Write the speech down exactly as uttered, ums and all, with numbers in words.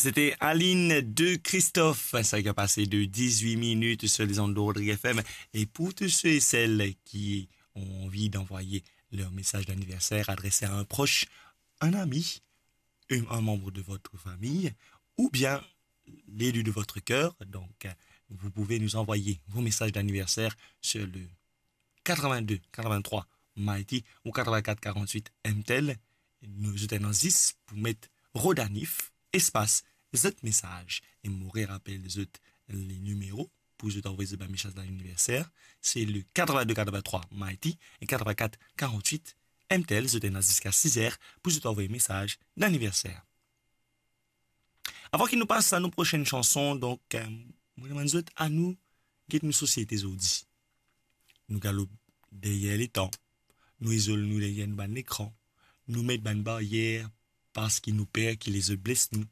C'était Aline de Christophe, ça qui a passé de dix-huit minutes sur les ondes de Rodrigue F M. Et pour tous ceux et celles qui ont envie d'envoyer leur message d'anniversaire adressé à un proche, un ami, un, un membre de votre famille, ou bien l'élu de votre cœur, donc euh, vous pouvez nous envoyer vos messages d'anniversaire sur le quatre-vingt-deux quatre-vingt-trois Mighty ou quatre-vingt-quatre quarante-huit M T L. Nous êtes dans dix pour mettre Rodanif, espace, zot message. Et Maurice rappelle zot les numéros pour zot envoyer zot message d'anniversaire. C'est le quatre-vingt-deux quatre-vingt-trois Mighty et quatre-vingt-quatre quarante-huit M T L. Zot ena ziska sis er pour zot envoyer message d'anniversaire. Avan ki nou pas a nou prosenn chanson, donk, euh, mo demann zot, anou get nou sosiete zordi. Nou galop deryer letan, nou izol nou deryer nou bann lekran, nou met bann baryer parski nou per ki lezot bles nou.